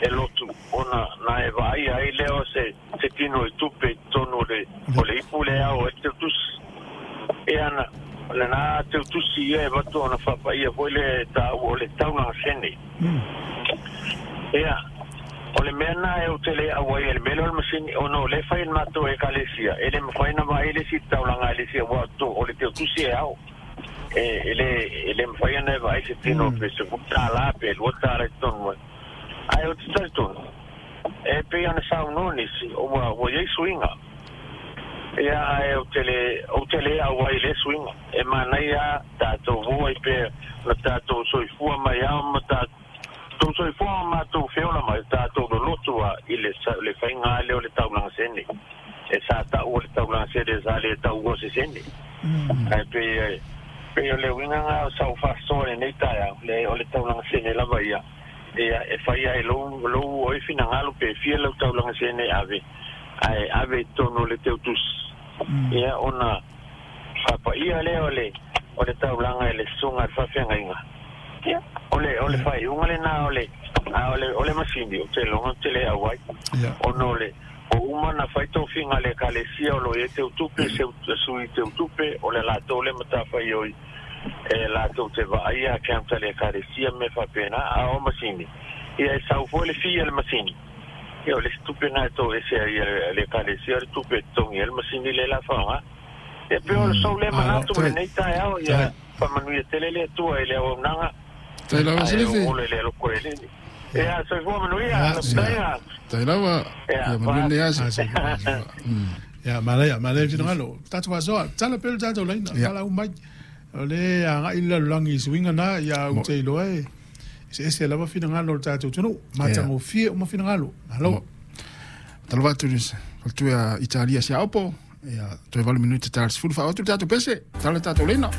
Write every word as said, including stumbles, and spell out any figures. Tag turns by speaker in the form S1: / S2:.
S1: E lotu ona na e vaai ai lea o se se tino i tupe i totonu o le o le ipu le ao e teutusi. E ana o lena teutusi ia e vatu ona faapaia foi le taua o le taulaga sene. Ia o le mea na e ou te le auai ai le mea lea o le masini ona o lea e fai e le matou ekalesia e le mafai ona vaai le isi taulaga a le isi aua o le teutusi e ao e e le e le mafai ona e vaai se tino pe sefulu tala pe lua tala i totonu ai. Ae ou te talitonu e pei ona saunoa nisi ua ua i ai suiga. Ia ae ou te le ou te le auai i lea suiga. E manaia tatou o ai pea na tatou soifua mai ao ma tatou soifua ma matou feola mai tatou loloto a i le le faiga lea o le taulaga sene. E sa taua le taulaga sene sa le taua se sene. Ae pei e pei o le uiga lena o sau faasoa i lenei taeao, leai o le taulaga sene lava ia. Ia e fai ai lou lou oe finagalo pe fia lau taulaga sene e ave, ae ave i totonu o le teutusi. Ia ona faapaia lea o le o le taulaga e le susuga a le faafeagaiga. Ia o le o le faaiuga lena o le a o le o le masini ou te iloga ou te le auai. Ona o le ua uma ona fai tofiga a le Ekalesia o lo o i ai teutupe, sui teutupe, o le latou lea matafaioi e latou te vaaia account a le Ekalesia ma mea faapena. A o masini, ia e sau foi le fee a le masini, ia o le isi tupe lena e toese ai e le Ekalesia o le tupe e totogi ai le masini lea o le a faaaoga. Ia pei o le sou lea manatu i lenei taeao, ia faamanuia tele le Atua i le auaunaga ae ola i le alofa o le Alii. Ia, soifua manuia, lafutaia.
S2: Tai lava, ia manuia lenei aso.
S3: Ia, manaia, manaia le finagalo. Tatou faasoa, tatala pea le tatou laina, valaau mai. O lea e agai le lalolagi i suiga na, ia ou te iloa e eseese lava finagalo o le tatou atunuu. Matagofie uma finagalo. Malo.
S2: Talofa atu i le faletua ia Italia Siaopo, ia toe valu minute ta le sefulu faaoo atu le tatou pese, tatala le tatou laina.